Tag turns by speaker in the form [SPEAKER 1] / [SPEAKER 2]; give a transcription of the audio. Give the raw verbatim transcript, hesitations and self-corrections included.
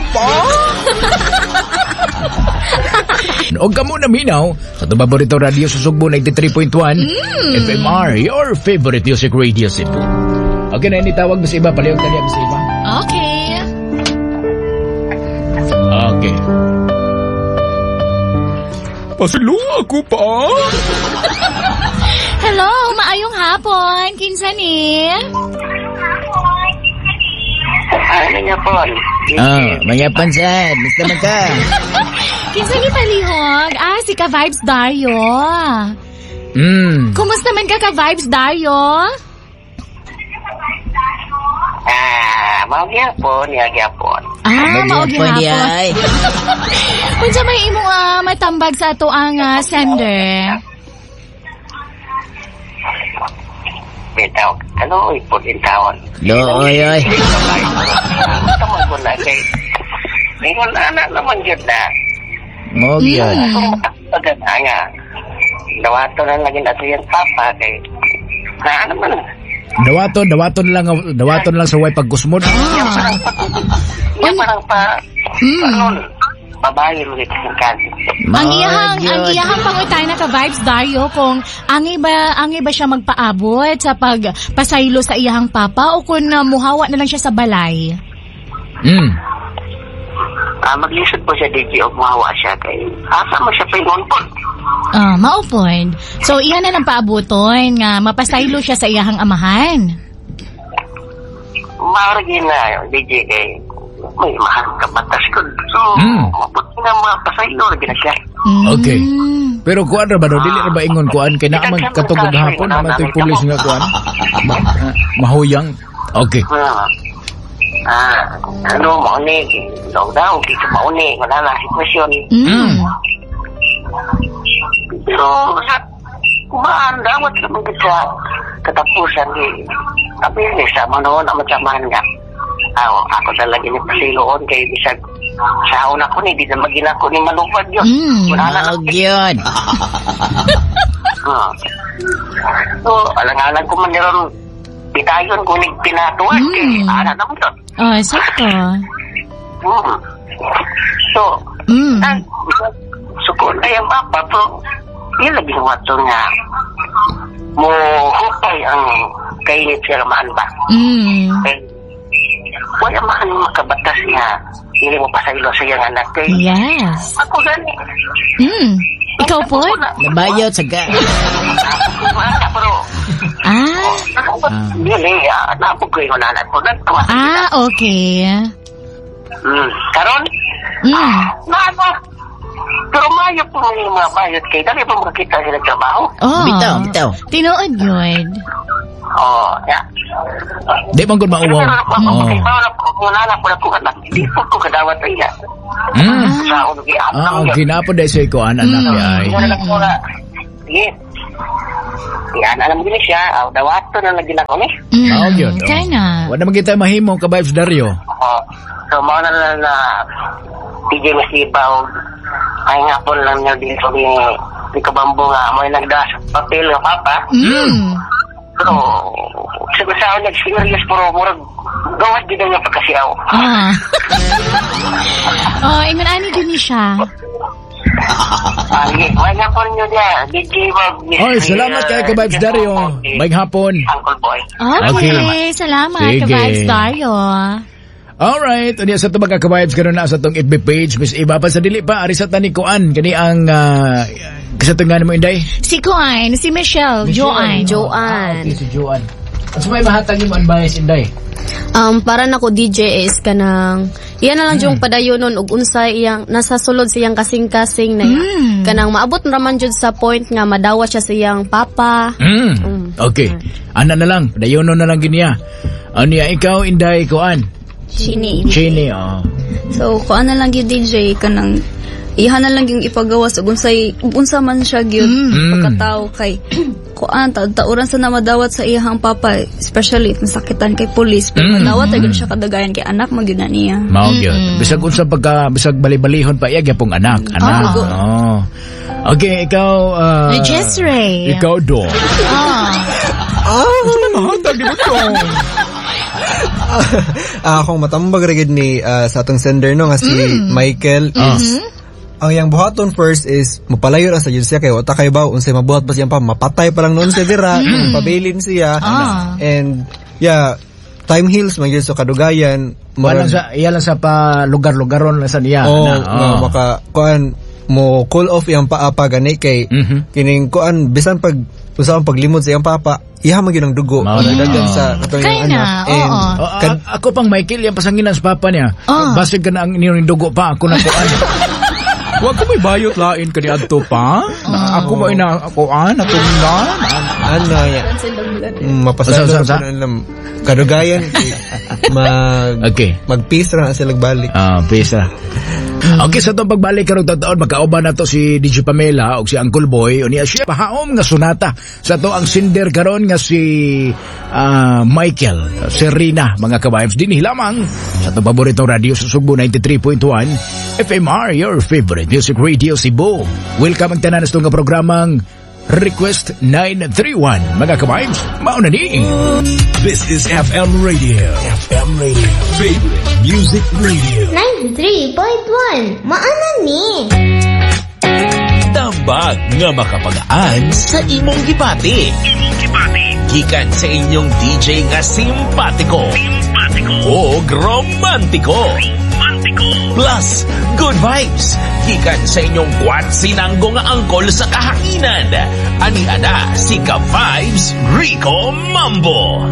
[SPEAKER 1] pa. Og kamo na minaw sa atong paborito radio sa Sugbo ninety-three point one F M R, your favorite music radio Cebu. Okay na, ini tawag Miss Iba, palihog dali, Miss Iba.
[SPEAKER 2] Okay.
[SPEAKER 1] Okay. Pasaylo ako pa.
[SPEAKER 2] Hello, maayong hapon. Kinsa ni?
[SPEAKER 3] Ano niya po?
[SPEAKER 4] Oh, manyapan sad. Basta man ka.
[SPEAKER 2] Kinsa ni palihog? Ah, si Ka Vibes Dario.
[SPEAKER 1] Mm.
[SPEAKER 2] Kumusta man ka, Ka Vibes Dario?
[SPEAKER 3] Ah, mao gyapon, ya gyapon.
[SPEAKER 2] Ah, mao
[SPEAKER 4] Magyapon di
[SPEAKER 2] gihapon.
[SPEAKER 4] Ay.
[SPEAKER 2] Unsa may imong ah, matambag sa ato ang ah, sender?
[SPEAKER 3] Bitaw, ano ipon in taon?
[SPEAKER 4] Looy, oy.
[SPEAKER 3] Tama ko na kay Ingon anak naman gyud na.
[SPEAKER 4] Mo gyud.
[SPEAKER 3] Kung matagpagan na nga. Dawato na lagi na iyang papa kay na ano man.
[SPEAKER 1] Dawaton, dawaton lang, dawaton lang sa way pagkusmod.
[SPEAKER 3] Iya parang pa, iya parang pa, ano, babae mo dito sa kan.
[SPEAKER 2] Ang iyahang ang iyahang pangutana, Ka Vibes Dario, kung angay ba angay ba siya magpaabot sa pagpasaylo sa iyahang papa o kung uh, muhawa na lang siya sa balay.
[SPEAKER 1] Mm.
[SPEAKER 3] Ah, maglisod po siya D J og mahawa siya kay asa mo siya pingon po.
[SPEAKER 2] Ah, mao pod. So iya na lang paabuton nga mapasaylo siya sa iyahang amahan.
[SPEAKER 3] Maaragi na D J kay may mahal ka batas ko. So,
[SPEAKER 1] Mm.
[SPEAKER 3] mabuti na mapasaylo lagi na siya.
[SPEAKER 2] Mm.
[SPEAKER 1] Okay. Pero kuan ra ba daw, dili ra ba ingon kuan kay naa man katong gahapon naman to'y pulis nga kuan. Ma ah, mahuyang. Okay.
[SPEAKER 3] Ah, ah ano, mauni, daw daw, di ka mauni, wala na sitwasyon.
[SPEAKER 2] Mm.
[SPEAKER 3] Pero, sa, kumaan, dawat sa mga sa katapusan, di, sabi ni sa manoon, ang matsamahan nga. Ah, ako talaga ni pasiloon kay bisag sa una ko ni, di na magina ko ni malupad yun.
[SPEAKER 2] Mm.
[SPEAKER 3] Wala na.
[SPEAKER 4] Mao gyud.
[SPEAKER 3] Hmm. So, alang-alang ko man ron, pitayon ko ni pinatuan,
[SPEAKER 2] Mm.
[SPEAKER 3] kay ana naman yun.
[SPEAKER 2] Oh, sakto.
[SPEAKER 3] Hmm. So,
[SPEAKER 2] Mm.
[SPEAKER 3] ang suko na yung papa, pero yun lagi wato nga mo hupay ang kainit siya ramahan ba.
[SPEAKER 2] Mm.
[SPEAKER 3] Kay, wala man makabatas nga hindi mo pasaylo sa iyang anak kay
[SPEAKER 2] Yes.
[SPEAKER 3] ako gani.
[SPEAKER 2] Mm. Ikaw po?
[SPEAKER 4] Nabayot sa ka.
[SPEAKER 3] Ako pero
[SPEAKER 2] Ah.
[SPEAKER 3] dili ah, napog ko yung anak ko nagtawa.
[SPEAKER 2] Ah, okay.
[SPEAKER 3] Mm. Karon
[SPEAKER 2] Mm.
[SPEAKER 3] na ano pero mayo po yung mga bayot kay dali pa makakita sila trabaho.
[SPEAKER 2] Oh.
[SPEAKER 4] Bitaw, bitaw.
[SPEAKER 2] Tinuod yun.
[SPEAKER 3] Oh, ya.
[SPEAKER 1] Di man gud mauwaw.
[SPEAKER 3] Pero
[SPEAKER 1] Oh.
[SPEAKER 3] oh. Kung anak ko na ko anak, di po ko kadawat iya.
[SPEAKER 1] Mm.
[SPEAKER 3] Sa ako nag-iap.
[SPEAKER 1] Ah, okay na po dahil sa ikuan anak
[SPEAKER 2] Mm.
[SPEAKER 1] ay.
[SPEAKER 3] Wala lang ko na. Sige. Yan, alam mo gini siya. Aw, dawato na lagi na ko ni.
[SPEAKER 2] Mm.
[SPEAKER 1] Mao gyud. oh.
[SPEAKER 2] Kaya na.
[SPEAKER 1] Wala man kita mahimo, Ka Vibes Dario.
[SPEAKER 3] Oh, so, mao na lang na D J Masibaw. Ay nga po lang niya dito ni ni Kabambo nga may nagdas papel nga papa.
[SPEAKER 2] Mm.
[SPEAKER 3] Pero sa sa nag-serious pero murag gawas gid nga pagkasiaw.
[SPEAKER 2] Ah. Oh, ingon ani gyud ni siya.
[SPEAKER 3] Ah, sige. May nga po ninyo niya. D J Bob.
[SPEAKER 1] Oy, salamat kay Ka Vibes Dario. May hapon.
[SPEAKER 3] Uncle Boy.
[SPEAKER 2] Okay,
[SPEAKER 1] Okay.
[SPEAKER 2] salamat,
[SPEAKER 1] Sige.
[SPEAKER 2] Ka-Vibes Dario.
[SPEAKER 1] Alright, unya sa itong mga ka-vibes karon na sa itong F B page, Miss Iba pa sa dili pa ari sa tani kuan kani ang uh, sa itong nga mo, Inday?
[SPEAKER 2] Si Kuan, si Michelle, Joanne.
[SPEAKER 5] Joanne.
[SPEAKER 1] Ah, okay, si Joanne. At may mahatag mo advice, Inday?
[SPEAKER 5] Um, para nako D J is kanang iyan na lang yung padayonon ug unsa iyang nasa sulod sa iyang kasing-kasing na
[SPEAKER 2] Mm.
[SPEAKER 5] kanang maabot raman jud sa point nga madawat siya sa iyang papa.
[SPEAKER 1] Mm. Okay. Ana na lang, dayono na lang giniya. Ano ya, ikaw, Inday, kuan?
[SPEAKER 6] Chini.
[SPEAKER 1] Chini, oh.
[SPEAKER 6] So, kuan na lang gyud D J kanang iha na lang yung ipagawas ug unsay unsa man siya gyud
[SPEAKER 1] Mm.
[SPEAKER 6] pagkatao kay kuan taud tauran sa na madawat sa iyahang papa, especially if masakitan kay police, pero
[SPEAKER 1] Mm.
[SPEAKER 6] madawat gyud siya kadagayan kay anak man gyud na niya.
[SPEAKER 1] Mao gyud. Bisag unsa pagka bisag bali-balihon pa iya gyapong anak, anak. Oh. Okay, ikaw uh,
[SPEAKER 2] Jess Ray.
[SPEAKER 1] Ikaw do.
[SPEAKER 2] Ah.
[SPEAKER 1] Oh, mahatag di mo to.
[SPEAKER 7] Ah, akong matambag ra gid ni ah, sa atong sender no nga si Michael is ang iyang buhaton first is mapalayo ra sa jud siya kay wa ta kay ba unsay mabuhat pa siyang pa mapatay pa lang noon siya dira pabilin siya
[SPEAKER 2] Ah.
[SPEAKER 7] and yeah time heals man gyud so kadugayan
[SPEAKER 1] Wala sa iya lang sa pa lugar-lugaron lang sa niya.
[SPEAKER 7] oh,
[SPEAKER 1] na,
[SPEAKER 7] nga maka kuan mo cool off iyang paa pa gani kay
[SPEAKER 1] Mhm.
[SPEAKER 7] kining kuan bisan pag usa ang paglimod sa iyang papa iha man gyud ang dugo
[SPEAKER 1] Mao na.
[SPEAKER 7] dagan sa katong
[SPEAKER 2] Kaya
[SPEAKER 7] iyang
[SPEAKER 2] na,
[SPEAKER 7] anak and
[SPEAKER 2] oo.
[SPEAKER 1] Oh,
[SPEAKER 7] kad-
[SPEAKER 1] a- ako pang Michael, yung pasanginan sa papa niya.
[SPEAKER 2] Ah.
[SPEAKER 1] Basig ka na ang inyong dugo pa, ako na kuan. Wag ko may bayot lain ka ni adto pa. Na, ako ba ina kuan natunggan?
[SPEAKER 7] ano ya mm, mapasalo
[SPEAKER 1] Usa, usa, usa?
[SPEAKER 7] ra po na lang. kadugayan kay mag
[SPEAKER 1] Okay.
[SPEAKER 7] mag-peace ra na sila balik
[SPEAKER 1] Ah, pisa. Okay, sa itong pagbalik karong taon magkauban na to si DJ Pamela o si Uncle Boy unya siya pahaom nga sonata sa to ang sinder karon nga si ah, Michael Serena mga ka-vibes dinhi lamang sa itong paboritong radio sa Sugbo ninety-three point one F M R your favorite music radio Cebu. Welcome ang tanan sa itong nga programang Request nine three one mga ka-vibes. Mao na ni.
[SPEAKER 8] This is F M Radio. F M Radio. Favorite Music Radio.
[SPEAKER 9] ninety-three point one Maana ni.
[SPEAKER 8] Tambag nga makapagaan sa imong gibati. Imong gibati. Gikan sa inyong D J nga simpatiko. Simpatiko. O romantiko. Romantiko. Plus, good vibes. Gikan sa inyong kwatsinanggo nga angkol sa kahanginan. Ani ana si Ka-Vibes Rico Mambo.